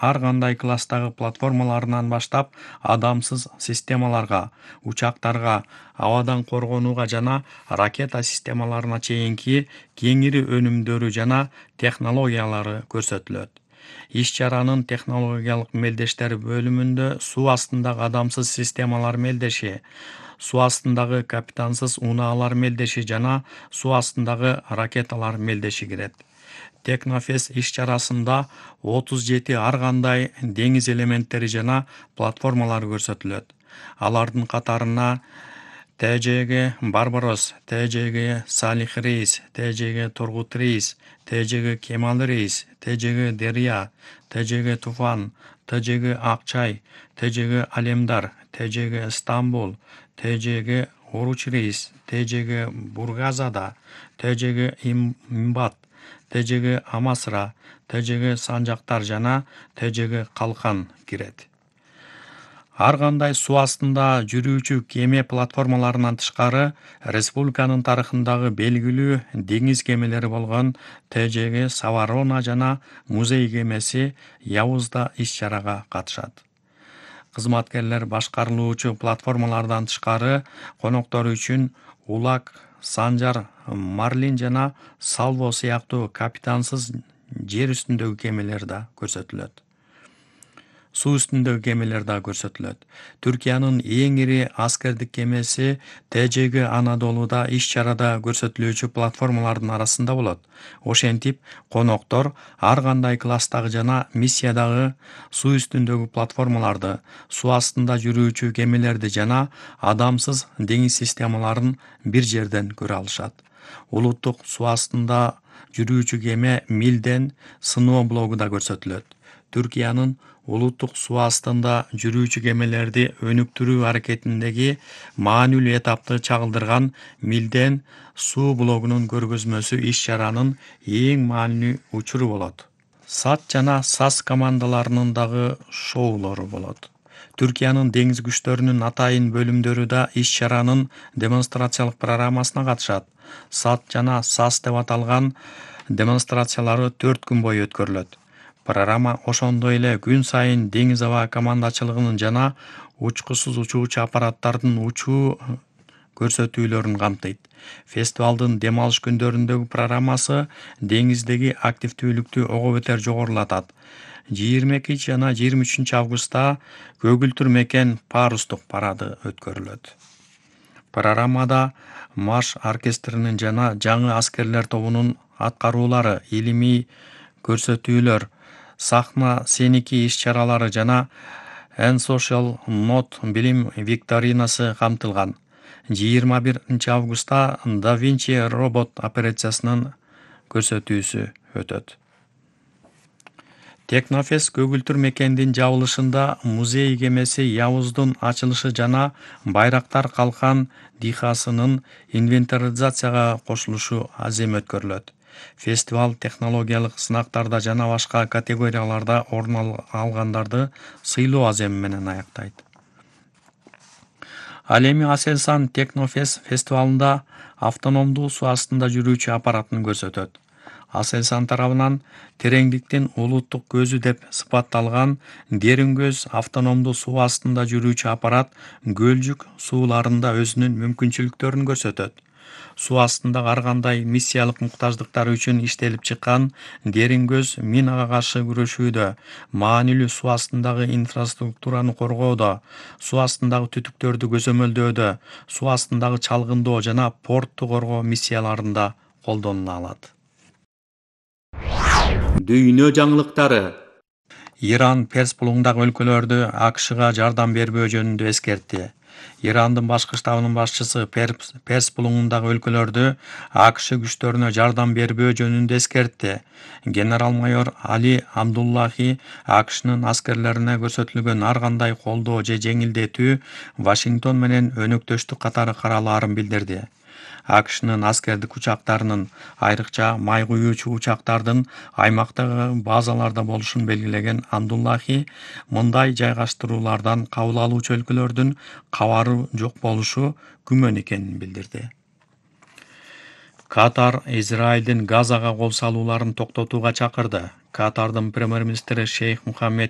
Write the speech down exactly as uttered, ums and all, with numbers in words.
ар кандай класстагы платформаларынан баштап адамсыз системаларга, учактарга, абадан коргонууга жана ракета системаларына чейинки кеңири өнүмдөрү жана технологиялары көрсөтүлөт. Иш-чаранын технологиялык мелдештер бөлүмүндө суу астындагы адамсыз системалар мелдеши, суу астындагы капитансыз унаалар мелдеши жана суу астындагы ракеталар мелдеши кирет. Технофест иш-чарасында отуз жети ар кандай деңиз элементтери жана платформалары көрсөтүлөт. Алардын катарына Т Ж Г Барбарос, Т Ж Г Салих рейс, Т Ж Г Тургут рейс, Т Ж Г Кемал рейс, Т Ж Г Дерья, Т Ж Г Туфан, Т Ж Г Акчай, Т Ж Г Алемдар, Т Ж Г Стамбул, Т Ж Г Оруч рейс, Т Ж Г Бургазада, Т Ж Г Имбат, Т Ж Г Амасра, Т Ж Г Санжактар жана Т Ж Г Калкан кирет. Ар кандай суу астында жүрүүчү кеме платформаларынан тышкары республиканын тарыхындагы белгилүү деңиз кемелери болгон Т Ж Г Саварона жана музей кемеси Явуз да иш-чарага катышат. Кызматкерлер башкарылуучу платформалардан тышкары коноктор үчүн Улак, Санжар, Марлин жана Салво сыяктуу капитансыз жер үстүндөгү кемелер да көрсөтүлөт. Суу үстүндөгү кемелер да көрсөтүлөт. Түркиянын эң ири аскердик кемеси Т Ж Г Анадолуда иш-чарада көрсөтүлүүчү платформалардын арасында болот. Ошентип, коноктор ар кандай класстагы жана миссиядагы суу үстүндөгү платформаларды, суу астында жүрүүчү кемелерди жана адамсыз деңиз системаларын бир жерден көрө алышат. Улуттук суу астында жүрүүчү кеме Милден сыноо блогу да көрсөтүлөт. Түркиянын улуттук суу астында жүрүүчү кемелерди өнүктүрүү аракетиндеги маанилүү этапты чагылдырган Милден суу блогунун көргөзмөсү иш-чаранын эң маанилүү учуру болот. САД жана САС командаларынын дагы шоулору болот. Түркиянын деңиз күчтөрүнүн атайын бөлүмдөрү да иш-чаранын демонстрациялык программасына катышат. САД жана САС деп аталган демонстрациялары төрт күн бою өткөрүлөт. Программа ошондой эле күн сайын деңиз аба командачылыгынын жана учкусуз учуучу аппараттардын учуу көрсөтүүлөрүн камтыйт. Фестивалдын дем алыш күндөрүндөгү программасы деңиздеги активдүүлүктү ого бетер жогорулатат. жыйырма экинчи жана жыйырма үчүнчү августта Көгүлтүр мекен парустук парады өткөрүлөт. Программада марш оркестринин жана жаңы аскерлер тобунун аткаруулары, илимий көрсөтүүлөр, сахна сеники иш-чаралары жана N Social Note билим викторинасы камтылган. жыйырма биринчи августта Да Винчи робот операциясынын көрсөтүүсү өтөт. Технофест Көгүлтүр мекендин жабылышында музей кемеси Явуздун ачылышы жана Байрактар калкан дихасынын инвентаризацияга кошулушу азем өткөрүлөт. Фестиваль технологиялык сынактарда жана башка категорияларда орун алгандарды сыйлоо аземи менен аяктайт. Ал эми Аселсан Технофест фестивалында автономдуу суу астында жүрүүчү аппаратын көрсөтөт. Аселсан тарабынан тереңдиктин улуттук көзү деп сыпатталган Дерин көз автономдуу суу астында жүрүүчү аппарат Көлжүк сууларында өзүнүн мүмкүнчүлүктөрүн көрсөтөт. Суу астындагы ар кандай миссиялык муктаждыктар үчүн иштелип чыккан Дерин көз минага каршы күрөшүүдө, маанилүү суу астындагы инфраструктураны коргоодо, суу астындагы түтүктөрдү көзөмөлдөөдө, суу астындагы чалгындоо жана портту коргоо миссияларында колдонула алат. Дүйнө жаңылыктары. Иран Перс булуңдагы өлкөлөрдү А К Шга жардам бербөө жөнүндө эскертти. Ирандын башкы штабынын башчысы Перс булуңундагы өлкөлөрдү А К Ш күчтөрүнө жардам бербөө жөнүндө эскертти. Генерал-майор Али Абдуллахи А К Шнын аскерлерине көрсөтүлгөн ар кандай колдоо же жеңилдетүү Вашингтон менен өнөктөштүк катары каралаарын билдирди. А К Шнын аскердик учактарынын, айрыкча май куюучу учактардын аймактагы базаларда болушун белгилеген Абдуллахи мындай жайгаштыруулардан кабыл алуучу өлкөлөрдүн кабары жок болушу күмөн экенин билдирди. Катар Израилдин Газага кол салууларын токтотууга чакырды. Катардын премьер-министри Шейх Мухаммед